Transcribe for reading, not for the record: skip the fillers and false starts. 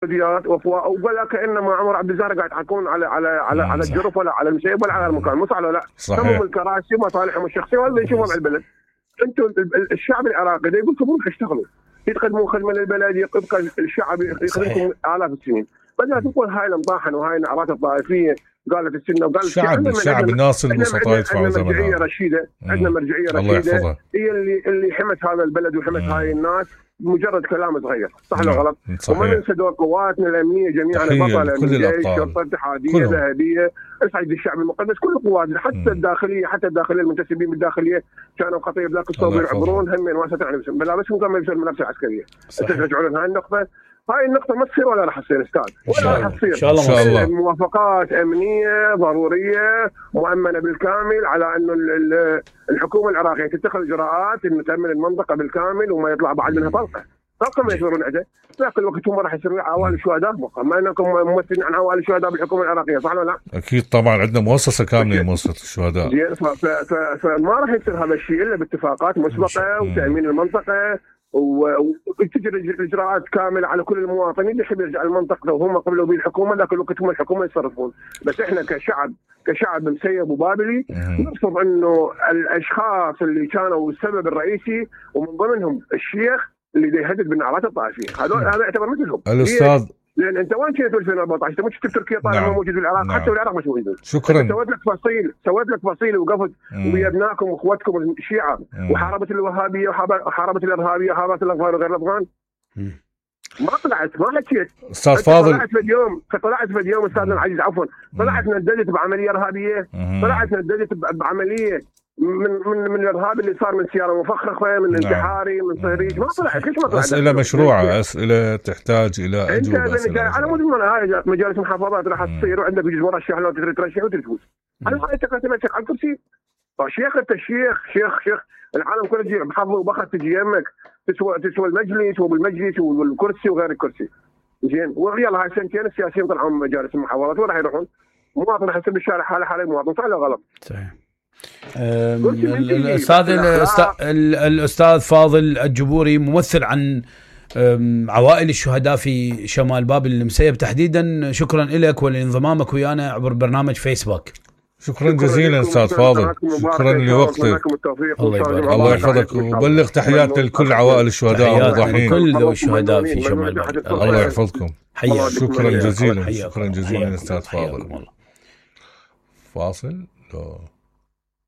فيديوهات ولا كانما عمر عبد الزهر قاعد يحكون على الجرف ولا على المسيب ولا على المكان، مو صح ولا لا؟ صحيح. الكراسي ومصالحهم الشخصيه ولا يشوفوا مع البلد. انتم الشعب العراقي يقول لكم روحوا اشتغلوا، تقدموا خدمه للبلد، يبقى الشعب يخدمكم الاف السنين، بدل تقول هاي المطاحن وهاي النعرات الطائفيه قالت السنه وقالت الشعب الناس البسطاء يدفعوا ثمنها. عندنا مرجعيه رشيده، عندنا مرجعيه رشيده هي اللي حمت هذا البلد وحمت هاي الناس، مجرد كلام صغير، صح ولا غلط؟ وما ننسى دور قواتنا الامنيه جميعا، بطله من الجيش، شرطه اتحاديه ذهبيه، اسعد الشعب المقدس، كل قواتنا حتى الداخليه، المنتسبين بالداخليه كانوا خطيب ذاك الصوب يعبرون هم واسطه بلا بس كانوا يلبسون الملابس العسكريه. ترجعون هاي النقطه، هاي النقطة ما تصير ولا راح تصير استاذ، ولا راح تصير. إن شاء الله. موافقات أمنية ضرورية مؤمنة بالكامل على إنه الحكومة العراقية تتخذ إجراءات إنه تأمن المنطقة بالكامل وما يطلع بعد منها طلقة ما يصيرون عده، ذاك الوقت هم راح يصيرون عوائل الشهداء، ما انكم ممثلين عن عوائل الشهداء بالحكومة العراقية، صح ولا لا؟ أكيد طبعا عندنا مؤسسة كاملة لمؤسسة الشهداء. زين، فما راح يصير هذا الشيء إلا باتفاقات مسبقة وتأمين المنطقة وتجري الاجراءات كامله على كل المواطنين اللي يحب يرجع المنطقه وهم قبلوا به الحكومه، لكن الوقت هم الحكومه يتصرفون. بس احنا كشعب مسيب وبابلي نرفض انه الاشخاص اللي كانوا السبب الرئيسي ومن ضمنهم الشيخ اللي يهدد بالنعرات الطائفيه، هذا يعتبر مثلهم. الاستاذ لان انت وين كنت في 2014؟ انت مش شفت تركيا طالع موجود في العراق، حتى العراق مش موجود. شكرا. سويت لك فصيل وقفت ويا ابنائكم واخواتكم الشيعه وحاربت الوهابيه وحاربت الارهابيه وحاربت الافغان وغير الافغان. ما حكيت. استاذ فاضل، طلعت في اليوم استاذنا العزيز عفوا، طلعت نددت بعمليه ارهابيه، طلعت نددت بعمليه من الارهاب اللي صار من سياره مفخخه، من انتحاري، من صهريج. ما طلعت. ليش ما طلعت؟ اسئله مشروعه، اسئله تحتاج الى اجوبه. على مود هاي مجالس محافظات راح تصير وعندك يجوز مرشح لو تريد ترشح وتفوز. انا ما تمسك على الكرسي. شيخ انت شيخ العالم كله تجي بحظ وبخت تجي يمك تسوى المجلس وبالمجلس والكرسي وغير الكرسي. زين، ويلا هاي سنتين السياسيين طلعوا من مجالس المحافظات وين راح يروحون؟ مواطن راح يصير بالشارع حاله مواطن، صح ولا غلط؟ صحيح. الأستاذ فاضل الجبوري ممثل عن عوائل الشهداء في شمال بابل المسيب تحديدا، شكرا لك ولانضمامك ويانا عبر برنامج فيسبوك. شكرا جزيلا استاذ فاضل، شكرا لوقتك. الله يحفظك وبلغ تحيات لكل عوائل الشهداء والمضحين، كل ذوي الشهداء في شمال بابل. الله يحفظكم. شكرا جزيلا استاذ فاضل. فاصل.